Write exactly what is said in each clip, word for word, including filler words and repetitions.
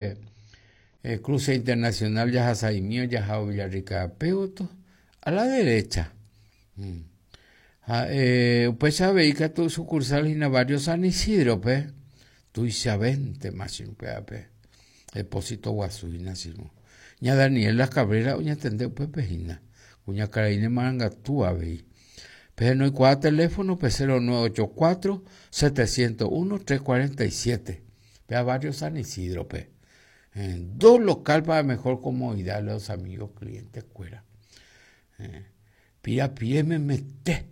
eh, cruce internacional Yajasaimio, Yajao Villarrica Peuto, a la derecha. Mm. Ha, eh, upéicha avei katu sucursal hína barrio San Isidro-pe, tuichavente machín-pe, depósito guasu hína chirũ. Ña Daniela Cabrera oñatende upépe hína, kuñakarai marangatu avei. Pehenoikuaa teléfono-pe cero nueve ocho cuatro, setecientos uno, tres cuarenta y siete, pe barrio San Isidro-pe. Eh, dos local para mejor comodidad de los amigos clientes cuera. Eh, pira pie me mete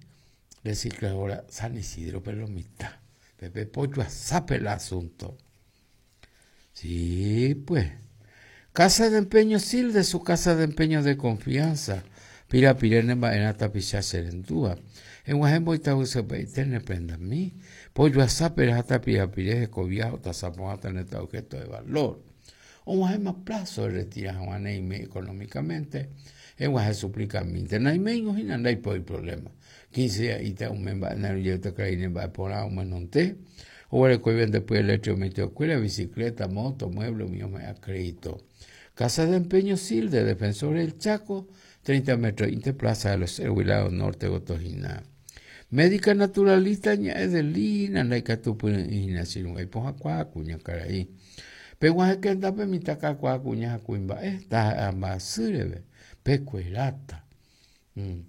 recicladora San Isidro, pero lo mitad. Pepe Pollo asape el asunto. Sí, pues. Casa de empeño Sil, de su casa de empeño de confianza. Pira pirene mbaena tapicha serendúa. En Guajembo y Tabusepe y tene prenda mi. Pollo asape hasta pira pire cobiajo tazapo hasta neta objeto de valor. O Guajema plazo de retira Juaneime económicamente. En Guaje suplica mi. Tenaime y no hay problema. quince días y te un memba en el yo te creí en va por un menonte. O el que vende después el hecho me te bicicleta, moto, mueble, mío me acredito. Casa de empeño Sil de Defensor del Chaco, treinta metros, Interplaza de los Huilado Norte, Gotojina. Médica naturalista, ña Edelina, la tupu ina sirun, ay poja cuá, cuña caraí. Pe guaje que anda pe mitaca cuá, cuña cuimba, esta ambasúrebe, pe cuerata. Mm.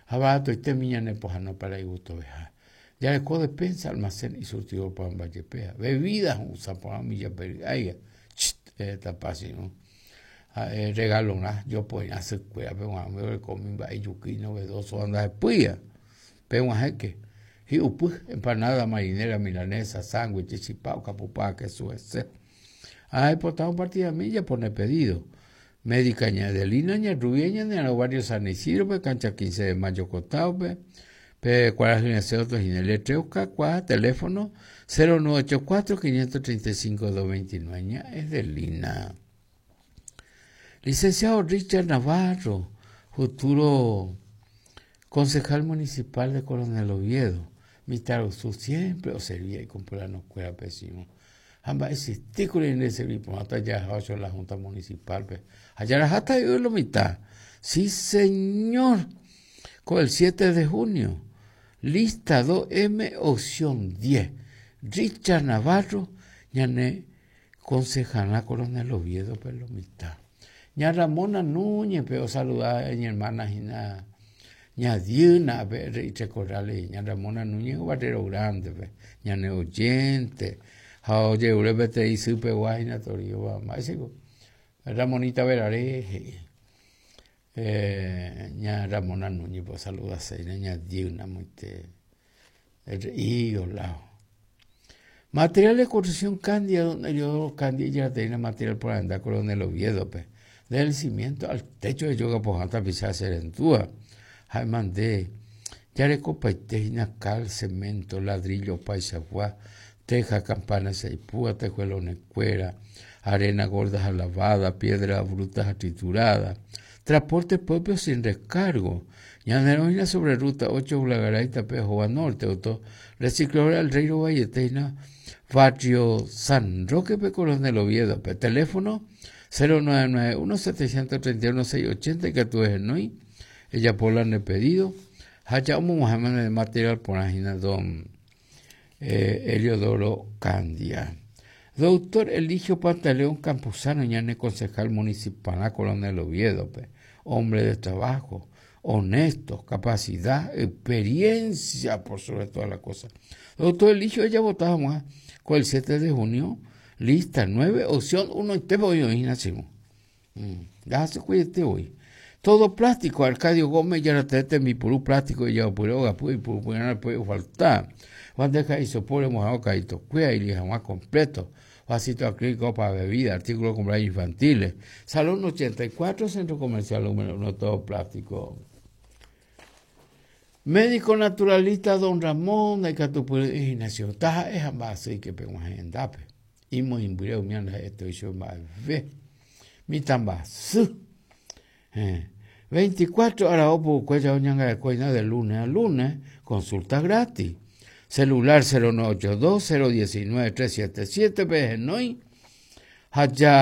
Abato y te miña ne poja no para y gusto veja. Ya le code pensa almacén y surtidor para Vallepea. Bebidas usa por milla pero ay, chit, esta pasi, ¿no? Ah, eh, regalo una, yo pues hacer cuera, pero bueno, me comí va y yuki novedoso anda de puya. Pero bueno, que y upu, empanada marinera milanesa, sándwich, chipao, capupá, queso ese. Ay, pues estamos partida milla pone pedido. Médica ña Adelina, ña Rubia, ña de los barrios San Isidro, pe cancha quince de mayo costado, pe, pe cuarenta y seis otros y el tres cuatro, teléfono cero nueve ocho cuatro, quinientos treinta y cinco, dos veintinueve, ña Adelina. Licenciado Richard Navarro, futuro concejal municipal de Coronel Oviedo, Mitarusu siempre o servía y compró la escuela pésimo. Amba existí con el servicio, hasta ya ocho la Junta Municipal, pe. Allá la jata yo lo mitad. Sí, señor. Con el siete de junio. Lista dos M, opción diez. Richard Navarro, ñane concejala Coronel Oviedo, pero lo mitad. Ña Ramona Núñez, pero saludar a mi hermana Gina. Ña Diana, pe, Richard Corrales, ña Ramona Núñez, barrero grande, pe. Ñane oyente. Oye, ure te hice pe guayna torio va más Ramonita Verare, eh, ña Ramona Núñez, pues saluda a ña Diana, muy te, el higo lao. Material de construcción Candia, donde yo Candia ya tenía material por andar Coronel Oviedo, pe. Del cimiento al techo de yoga por hasta pisar serentúa. Jaimandé, yareco paitejina cal, cemento, ladrillo, paisagua, teja, campana, seipúa, tejuelones, cuera, arena gorda lavada, piedra bruta triturada, transporte propio sin descargo, ñaneroina sobre ruta ocho, Ulagaray, Tapejoa Norte, auto, recicladora del Reino Valletena, barrio San Roque, pe Coronel Oviedo, pe teléfono cero nueve nueve uno, setecientos treinta y uno, seiscientos ochenta, que tú es noy, ella por la pedido, haya un mujer de material por la don Eh, Eliodoro Candia. Doctor Eligio Pantaleón Campuzano, ñane concejal municipal a Coronel Oviedo, pe. Hombre de trabajo, honesto, capacidad, experiencia por sobre todas las cosas. Doctor Eligio, ella votaba más con el siete de junio, lista nueve, opción uno, y te voy hoy, nacimos. Mm, ya se cuídate hoy. Todo plástico, Arcadio Gómez, ya la tete, mi purú plástico, y ya purú, gapu, y purú, purú, no puede faltar. Bandeja y sopor, mojado, caíto, cuea y lija más completo. Vasito acrílico para bebida, artículos de cumpleaños infantiles. Salón ochenta y cuatro, centro comercial número uno, todo plástico. Médico naturalista don Ramón de Catupuri, Ignacio Taja, es ambas, y que pegó en Dape. Y muy imbreo, mi anda, esto hizo más ve. Mi tambasú. Eh. veinticuatro horas, opo, cuella, oñanga de cuella, de lunes a lunes, consulta gratis. Celular cero nueve ocho dos, cero diecinueve, tres siete siete, P G N O I. Ha ja